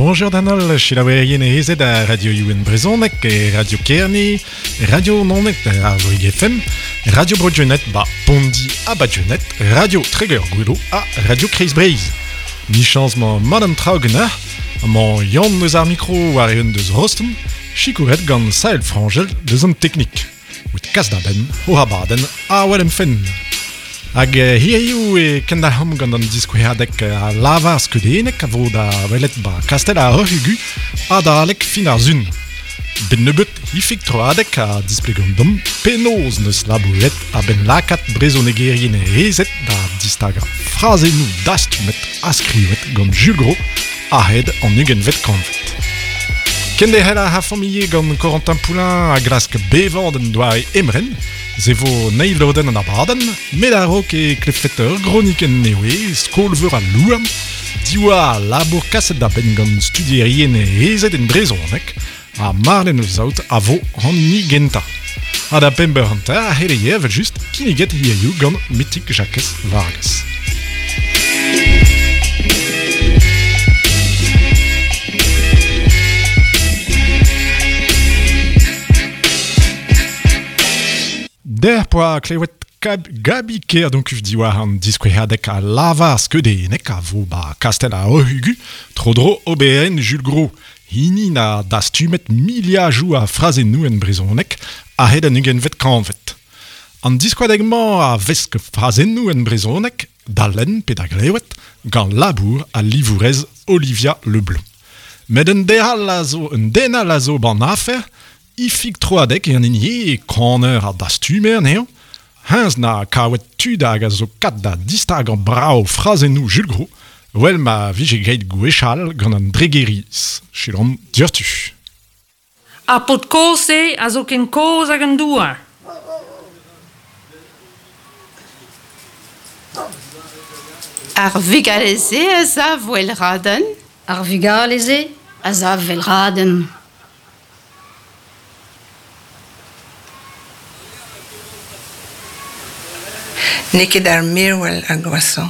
Bonjour d'an holl, selaouerien ezed a Radio Youen Brezhoneg, e Radio Kerne, Radio Naoned ar Vrig FM, Radio Bro-Gwened ba Pondi ha ba Gwened, Radio Treger-Gouelo ha Radio Kreiz Breizh. Michañs 'mañ mat an traoù ganeoc'h, amañ Yann eus ar mikro war-eeun deus Rosten, sikouret gant Sael Frangel deus an teknik. Evit kas da benn o abadenn Awel em fenn. Hag hiziv e kendalc'homp gant an diskouezadeg a lavar skeudennek a vo da welet ba Kastell ar Roc'h-Ugu adalek fin ar sun. Bet nebeut Ifig Troadeg a displegont deomp penaos n'eus labouret a-benn lakaat brezhonegerien ezed da distagañ frazennoù dastumet ha skrivet gant Jules Gros a-hed an ugentvet kantved. Kenderc'hel a rafomp ivez gant Corentin Poulain a glask bevañ d'un doare emren. Se vo an eil lodenn an abadenn, met a-raok e klevfet ur gronikenn nevez, Skol-veur al Louarn, diwar labour kaset da benn gant studierien ezed en brezhoneg, ha Marlen eus Saout a vo an hini gentañ. Ha da bemp eur hanter a c'helleie evel-just kinniget hiziv gant Metig Jakez Vargas. Dec'h poa klevet Gabi Kerdoncuff diwar an diskouezadeg a lavar skeudennek a vo ba Kastell ar Roc'h-Ugu tro-dro oberenn Jules Gros. Hini na dastumet miliadoù a frazennoù en brezhoneg a-hed an ugentvet kantved. An diskouezadeg-mañ a vesk frazennoù en brezhoneg da lenn pe da glevet gant labour al livourez Olivia Leblanc. Met un den all a zo un den all a zo ban afer, Ifig Troadeg eo an hini eo kaner ha dastumer anezhañ. Hennezh 'na kavet tud hag a zo kat da distagañ brav frazennoù Jules Gros, 'vel ma vije graet gwechall gant an Dregeriz. Selaomp diouzhtu. Ar paotr kozh-se a zo ken kozh hag an douar. Ar vugale-se a sav well-raden. Ar vugale-se a sav well-raden. N'eo ket ar mervel ar gwashañ.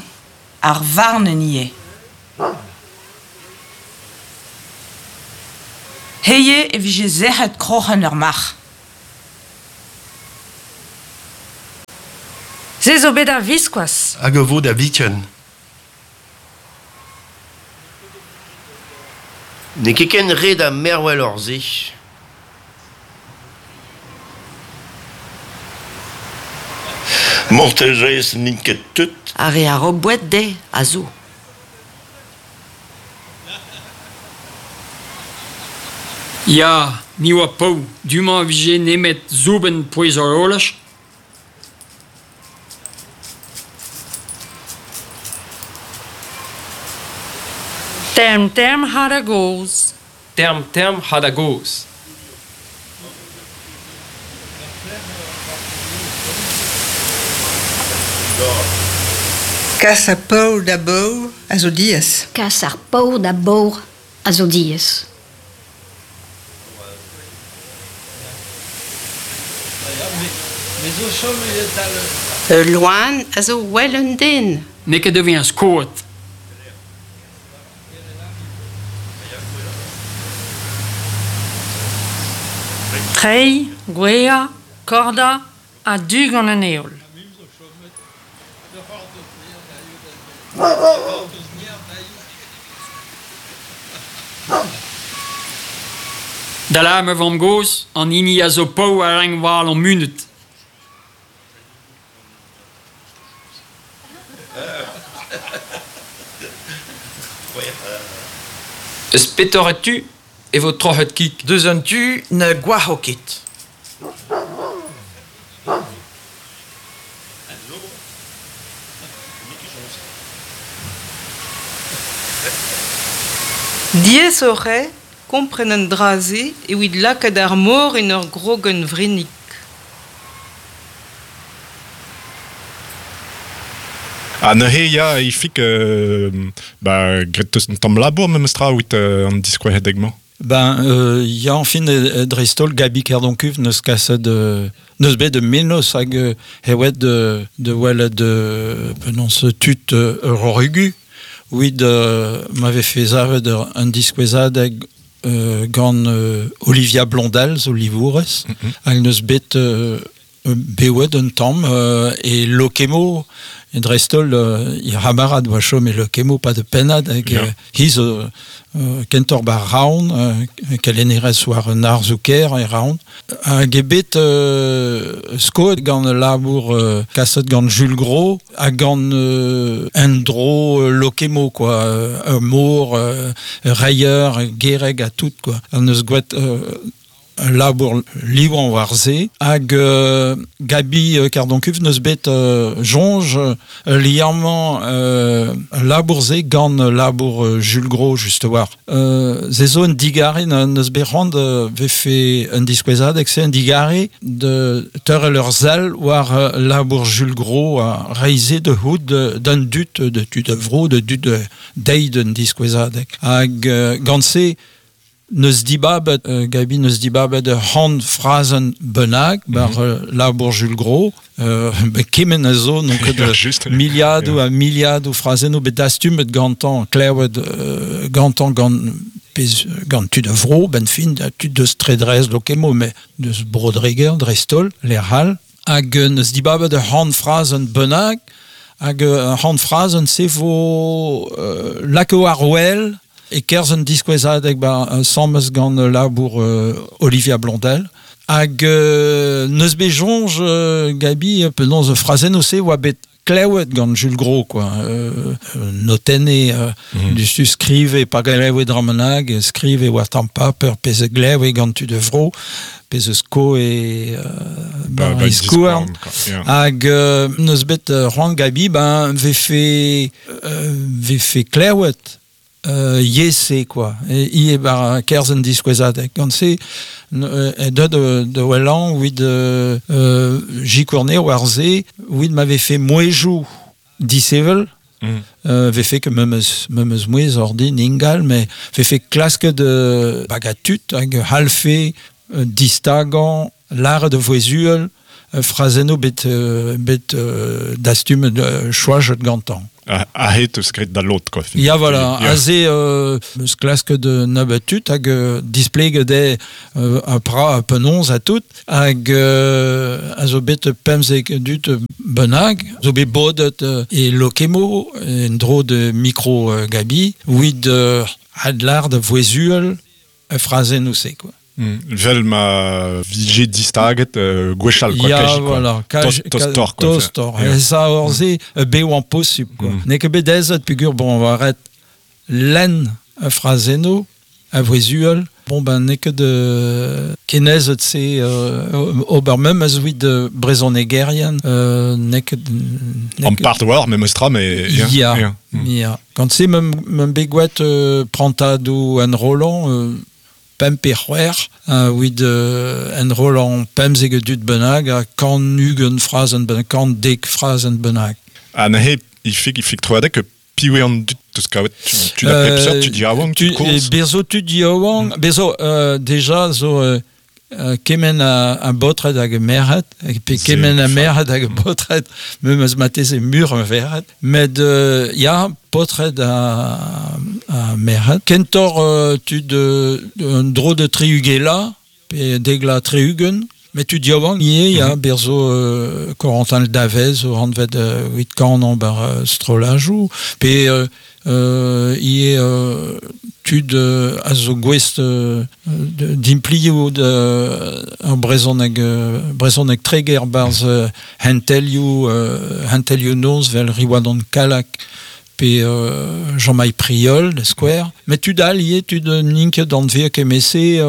Ar varn ivez. Hiziv e vije sec'het kroc'hen ur marc'h. Se zo bet a-viskoazh. Hag a vo da viken. N'eo ket ken ret ha mervel oc'h se. Marteze n'int ket tout. Ar re a ro boued dezhe a zo. Ya, ni oa paour, du-mañ e vije nemet soubenn pouez-horolaj. Term-term ha da gozh. Term-term ha da gozh. Kas ar paour da baour a zo diaes. Kas ar paour da baour a zo diaes. Ul loen a zo well un den. N'eo ket da vezañ skoet. Treiñ, gweañ, kordañ a-du gant an heol. Da lâr ma vamm-gozh, an hini a zo paour a rank war an munut. Eus petore tu e vo troc'het kig? Deus an tu na goac'ho ket. Diaesoc'h eo kompren an dra-se evit lakaat ar mor en ur grogenn vrennig. Ha neuze ya, Ifig, ba, graet 'teus un tamm labour memes tra evit an diskouezadeg-mañ? Ben ya, enfin, dreist-holl, Gabi Kerdoncuff neus kaset neus bet un mennozh hag e oet de welet penaos tud ur ugu Wid ma vefe savet un diskouezadeg gant Olivia Blondel zo livourez, hag neus bet bewet un tamm e Lokemo, e dreist-holl ir c'hamarad oa chom e Lokemo pa de pennad hag hi zo kentor bar Raon, kelennerez war un arzoù-kaer e Raon. Hag eo bet skoet gant labour kaset gant Jules Gros hag gant un dro Lokemo, quoi, ur mor, reier, gereg ha tout, quoi. An eus gwet labour liwan war se hag Gabi Kerdoncuff neus bet jonge liammañ labour se gant labour Jules Gros just war. Ze zo un digare neus bet c'hoant vefe un diskouezadeg se un digare de teurel ur sell war labour Jules Gros a reize de houd d'un dut de tud de vro de dut de deiz d'un diskouezadeg. Hag gant se neus dibabet, Gabi neus dibabet c'hant frazenn bennak bar labour Jules Gros, kement a zo, donc de miliadoù ha miliadoù frazennoù bet dastumet gantañ, klevet gantañ gant pez, gant tud a vro, ben fin, tud deus Tredrez Lokemo, met deus Brodreger, dreist-holl, lec'h all, hag neus dibabet c'hant frazenn bennak, hag c'hant frazenn se vo lako ar wel, e kerzh un diskouezadeg ba sammez gant labour Olivia Blondel. Hag neus bet soñj Gabi penaos frazennoù se oa bet klewet gant Jules Gros, quoi. Notenne du skrive pa glevet dramenag, skrive war tamm paper pezh glevet gant tud de vro, pezh sko e ba skouarn. Hag neus bet c'hoant Gabi ben vefe klewet yese, quoi. E bar kerzh un diskouezadeg. Gant se, de welan, wid jikourne war se, wid m'avait fait mouejou disevel, vefe que memes mouez ordin ingal, mais vefe klaske de bagatut, hag halfe, distagan, l'art de voezuel, frazenno bet dastum choajet gantan. Ahet eus graet da lot, quoi. Ya, voilà. Aze eus klask de nabatut hag displeget de a pra a penons a tout hag a zo bet pemzek dut benag zo bet bodet e Lokemo en dro de micro Gabi wid adlar de voezuel frazenno se, quoi. Vel ma vije distaget gwechall, quoi. Ya, voilà. Tostor, quoi. Tostor. Ça orze bev an posub, quoi. N'eo ket bet aezet peogwir, bon, war ret lenn a frazenno, a voezuel. Bon, ben, n'eo ket de kenezet se ober mem a zo de brezonegerien, n'eo ket... An part war, memes tra, mais... Ya, ya. Gant se mem bet gwet prantadoù an Roland, pemp e c'hwec'h, wid en Roland pemzek dut bennak, ha kant ugent frazenn bennak, kant dek frazenn bennak. Ha neuze, ifik troadek, piv eo an dut deus kavet tu da pep seurt, tu diaouank, tu kourz? Bezo tu diaouank, bezo deja zo kement a baotred hag a merc'hed, pe kement a merc'hed hag a baotred, memes mateze mur a verc'hed, met ya, paotred a merc'hed. Kentor tud un dro de triugela, pe degla triugen, met tud diaouank ivez, ya, berzo Corentin Le Davez, o hanvet wit kanon bar strolajoù, pe ivez tud a zo gouest d'implioù ar brezhoneg treger barz hentelioù noz vel Riwadon Kalak pe Jean-Maï Priol, de Square. Met tud all ivez, tud n'int ket anvez kemese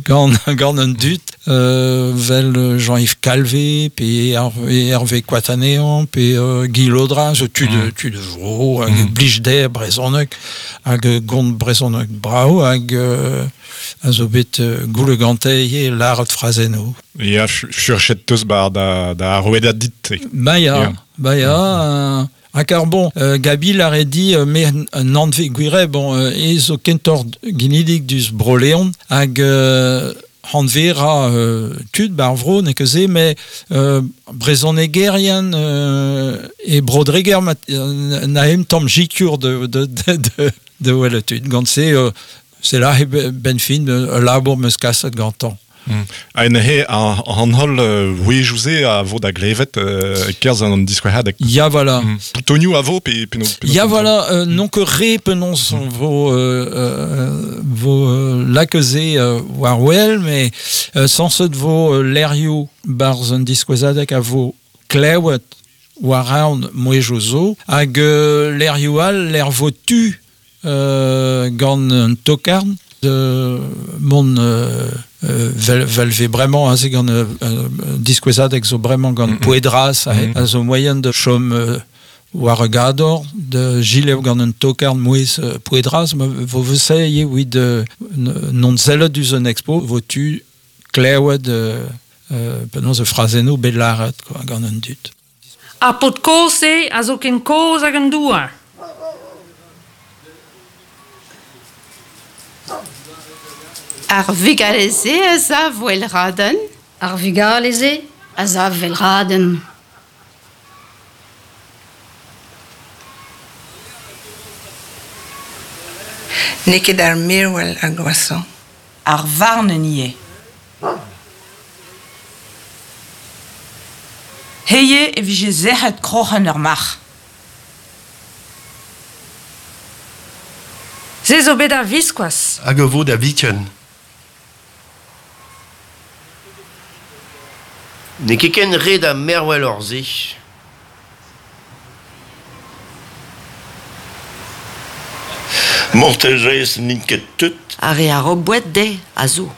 gant un dut, vel Jean-Yves Calvé, pe Hervé Coatanéan, pe Guy Laudrin, zo tud vro, hag blij der brezhoneg, hag gont brezhoneg brao, hag a zo bet goule gante ivez lâret frazenno. Ya, furchet teus bar da rouedad dit. Ba ya, Ha kar bon, Gabi lare di me un anve gwire, bon, e zo kentor ginidik dus Bro-Leon, hag hanvera tud bar vro ne ket se, met brezhonegerien e brodreger na em tamm jikur de welet tud. Gant se, c'est là ben fin labour meus kaset gantañ. Ha en he an holl wejou-se a vo da glevet kerzh an diskouezadeg. Ya voilà. Tonioù a vo pe pe Ya voilà, non ket re penaos vo lakeze war wel, mais sañset vo lerioù barzh an diskouezadeg a vo klewet war an mouezhioù zo, hag lerioù all ler vo tu gant un tokarn de mon vel bremañ aze gant diskouezadeg zo bremañ gant poedras a zo moyen de chom war a gador de gilev gant un tokarn mouez poedras vo vese eo evit non sellet diouzh un expo vo tu klewet penaos e frazennoù bet lâret quoi gant un dud. Ar paotr kozh-se a zo ken kozh hag an douar. Ar vugale-se a sav wel raden. Ar vugale-se a sav wel raden. N'eo ket ar merwel ar gwashañ. Ar varnenn ivez. Heie e vije sec'het kroc'hen ur marc'h. Se zo bet a-viskoazh. Hag a vo da viken. N'eo ket ken ret ha mervel hor se. Mortelrez n'int ket tout. Ar re a ro boued dezhe a zo.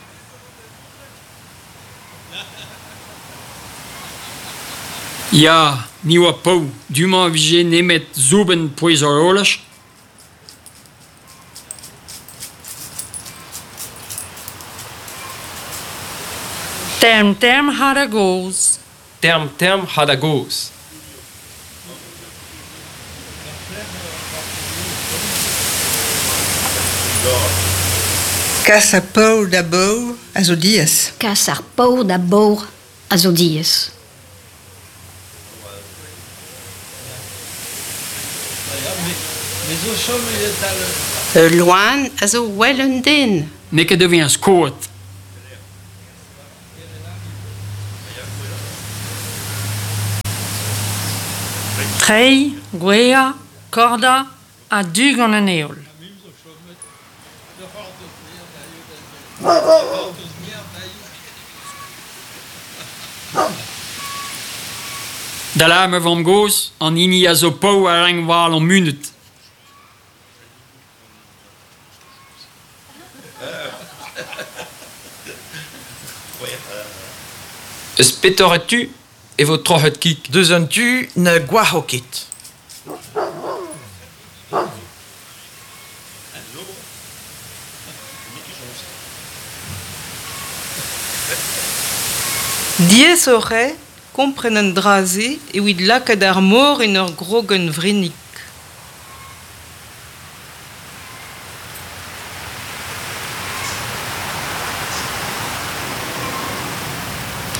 Ya, ni oa paour, du-mañ a vije nemet soubenn pouez horolaj. Term term ha da gozh. Term term ha da gozh. Kas ar paour da baour a zo diaes. Kas ar paour da baour a zo diaes. Ul loen a zo well un den. N'eo ket da vezañ skoet. Treiñ, gweañ, kordañ ha du gant an heol. Da lâr ma vamm-gozh, an hini a zo paour a rank war an munut. Eus petore tu e vo troc'het kig? Deus an tu na gwac'ho ket. Diaesoc'h eo kompren an dra-se evit lakaat ar mor en ur grogenn vrennig.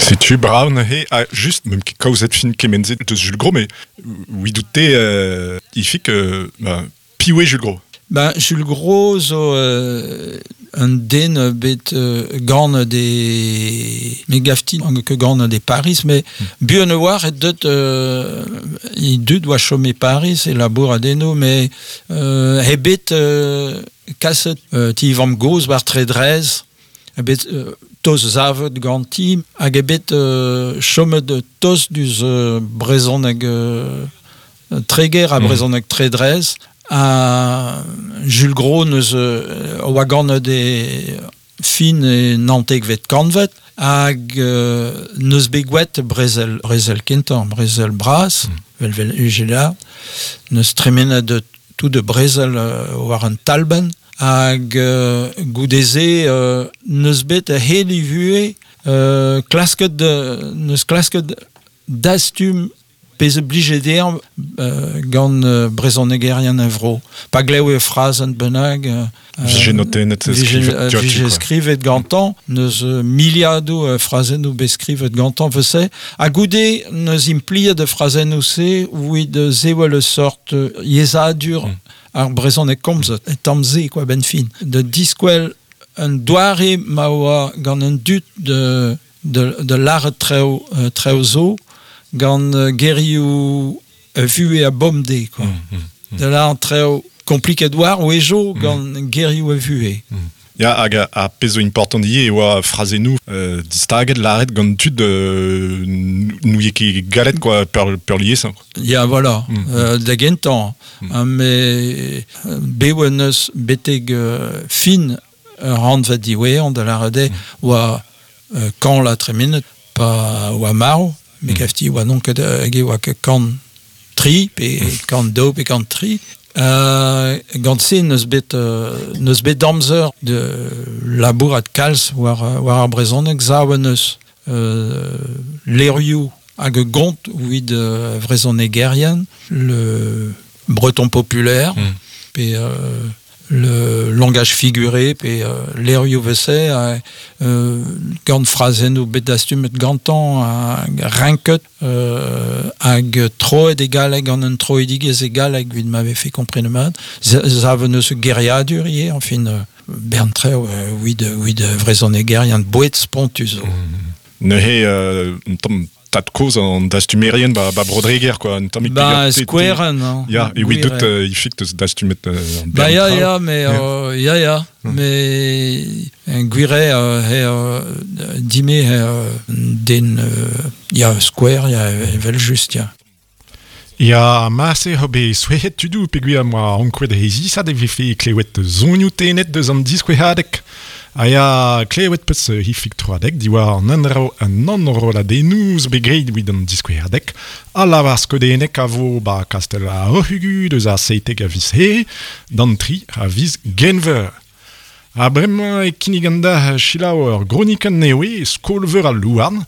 Setu brav neuze ha just meump ket kaozet fin kement-se deus Jules Gros, mais ouidout-te ifik piv eo Jules Gros? Ben, Jules Gros zo un den bet gant de me gafti ket gant de Paris, mais buan a oar e deut e dud oa chom e Paris e labour a deno, mais he bet kaset ti vamm-gozh war Tredrez, he bet toz savet ganti, hag eo bet chomet tost diouzh brezhoneg Treger ha brezhoneg Tredrez. Ha Jules Gros neus oa ganet e fin e naontekvet kantved hag neus bet gwelet brezel, brezel kentañ, brezel bras, vel vel UGLA, neus tremenet tout de brezel war an talbenn hag goude-se neus bet a-hed e vuhez klasket neus klasket dastum Pezh blije dezhañ gant brezhonegerian a vro. Pa glev e frazenn bennak... Vije notennet, skrivet Vije skrivet gantañ, neus miliadoù frazennoù bet skrivet gantañ vese. Ha goude neus impliet de frazennoù-se evit sevel ur sort yezhadur ar brezhoneg komzet, e tamm-se, quoi, ben fin. De diskwel un doare ma oa gant un dud de lâret treo zo gant gerioù vuhez a bomde, quoi. De lâret treo kompliket war wejo gant gerioù a vuhez. Ya, hag a pezh zo important ivez e oa frazennoù distaget lâret gant tud n'ouie ket galet, quoi, peurliesañ. Ya, voilà, da gentañ. Mais bev neus betek fin rannved diwezhañ da lâret eo oa kan la tremenet pa oa marv, me gavti oa non ket hag e oa ket kan tri, pe kan daou pe kan tri. Gant se neus bet amzer de labourat kalz war ar brezhoneg sav neus levrioù hag gont evit vrezhonegerien, le breton populaire, pe le langage figuré, pe levrioù vese, gant frazennoù bet dastumet gantañ, renket, hag troet e galleg gant un troidigezh e galleg evit ma vefe komprenet mat. Sav neus geriadur ivez, enfin, bern treo evit vrezhonegerien boued spontus zo. Neuze un tamm tad kozh an dastumerien ba Brodreger, quoi, un tammig Ba skouerenn, hein. Ya, e oa deut ifik deus dastumet Ba ya, ya, mais ya, ya, mais gwir eo dime den ya skouer, ya, evel just, ya. Ya, marse ho bet souezhet tudoù peogwir am boa ankouaet rezisat e vefe klewet zonioù tennet deus an diskouezadeg. Ha ya, klewet peus Ifig Troadeg diwar an endro an enrolladennoù zo bet graet evit an diskouezadeg. Ha lavar skeudennek a vo ba Kastell ar Roc'h-Ugu deus ar 17 a viz Here d'an 3 a viz Genver. Ha bremañ e kinnig an da selaou ur gronikenn nevez Skol-Veur al Louarn.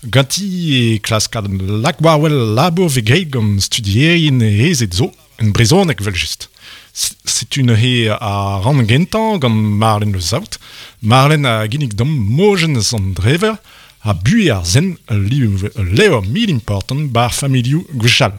Ganti e klaskad lak war-wel labour vez graet gant studierien ezed zo, en brezhoneg evel-just. Setu neuze ar rann gentañ gant Marlen Le Saout. Marlen a ginnig deomp mojenn an drever ha buhez ar zen ul levr mil important bar familhoù gwechall.